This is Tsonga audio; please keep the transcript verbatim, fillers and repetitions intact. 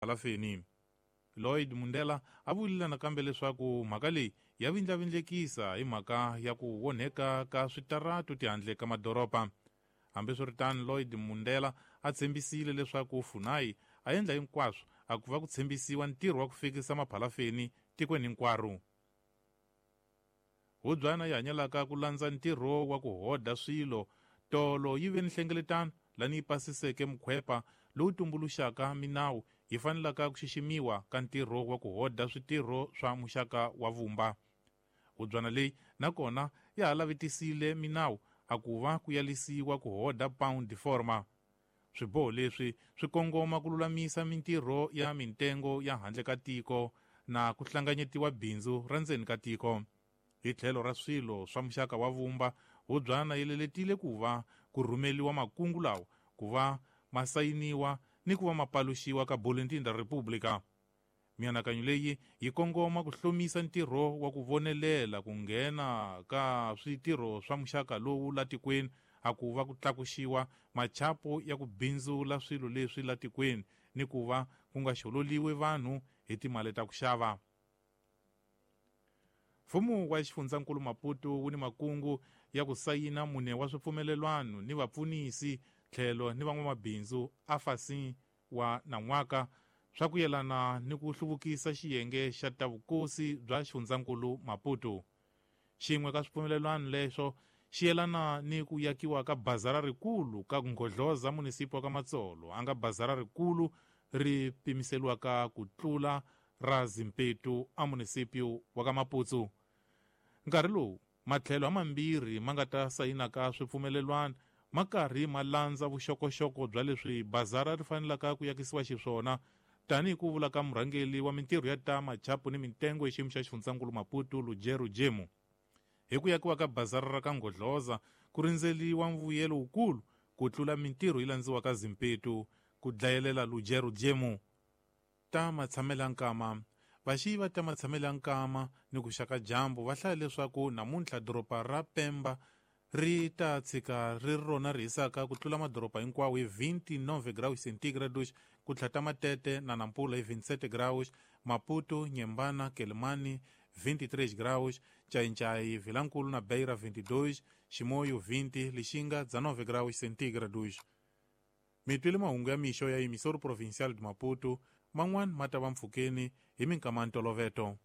Palafeni. Lloyd Mundela a vurile nakambe leswaku mhaka leyi ya vindlavindlekisa hi mhaka ya ku onheka ka switaratu tihandle ka madoroba. Hambiswiritano, Lloyd Mundela a tshembisile leswaku Funai a endla hinkwaswo a ku va ku tshembisiwa ntirho wa ku fikisa maphalafeni tikweni hinkwaro. Hubyana yi hanyelaka ku landza ntirho wa ku hoda swilo tolo yi ve ni nhlengeletano lani yi pasiseke mukhwepa lowu tumbuluxaka minawu yi fanelaka ku xiximiwa ka ntirho wa ku hoda switirho swa muxaka wa vumba. Hubyana leyi nakona ya ha lavetisile minawu a ku va ku yalisiwa ku hoda pound forma. Swiboho leswi swi kongoma ku lulamisa mintirho ya mintengo ya handle ka tiko na ku hlanganyetiwa bindzu ra ndzeni ka tiko. Hi tlhelo ra swilo swa muxaka wa vumba, hubyana yi leletile ku va ku rhumeliwa makungu lawa ku va ma sayiniwa ni ku va ma paluxiwa ka Boletim da República. Mianakanyo leyi yi kongoma ku hlomisa ntirho wa ku vonelela ku nghena ka switirho swa muxaka lowu la tikweni a ku va ku tlakuxiwa machapo ya ku bindzula swilo leswi la tikweni ni ku va ku nga xololiwi vanhu hi timali ta ku xava. Mfumo wa xifundzankulu Maputo wu ni makungu ya ku sayina mune wa swipfumelelwano ni vapfunisi tlhelo ni van'wamabindzu afasi wa nan'waka swa ku yelana ni ku hluvukisa xiyenge xa ta vukosi bya xifundzankulu Maputo. Xin'we ka swipfumelelwano leswo xi yelana ni ku yakiwa ka bazara rikulu ka Nghodloza munisipi wa ka Matsolo, a nga bazara rikulu ri pimiseliwaka ku tlula ra Zimpetu a munisipi wa ka Maputsu. Nkarhi lowu matlhelo hamambirhi ma nga ta sayinaka swipfumelelwano ma karhi ma landza vuxokoxoko bya leswi bazara ri fanelaka ku yakisiwa xiswona, tanihi ku vula ka murhangeri wa mintirho ya ta machapu ni mintengo hi xiyimo xa xifundzankulu Maputo, Lujero Jemu. Hi ku yakiwa ka bazara ra ka Nghodloza ku rindzeliwa mvuyelo wukulu ku tlula mintirho yi landziwaka Zimpetu, ku dlayelela Lujero Jemu. Ta matshamela nkama. Vaxiyi va ta matshamela nkama ni ku xaka dyambu va hlaya leswaku namuntlha doroba ra Pemba ri ta tshika ri rona ri hisaka ku tlula madoroba hinkwawo hi vinte e nove graus centígrados, ku tlhata Matete na Nampula hi vinte e sete graus, Maputo, Nyembana, Quelimane vinte e três graus, Ncaincaí, Vilankulu na Beira vinte e dois, Chimoio vinte, Lixinga dezenove graus centígrados. Mitwile mahungu ya mixo ya emissora provincial de Maputo, man'wana ma ta va mpfhukeni hi minkama ya ntolovelo.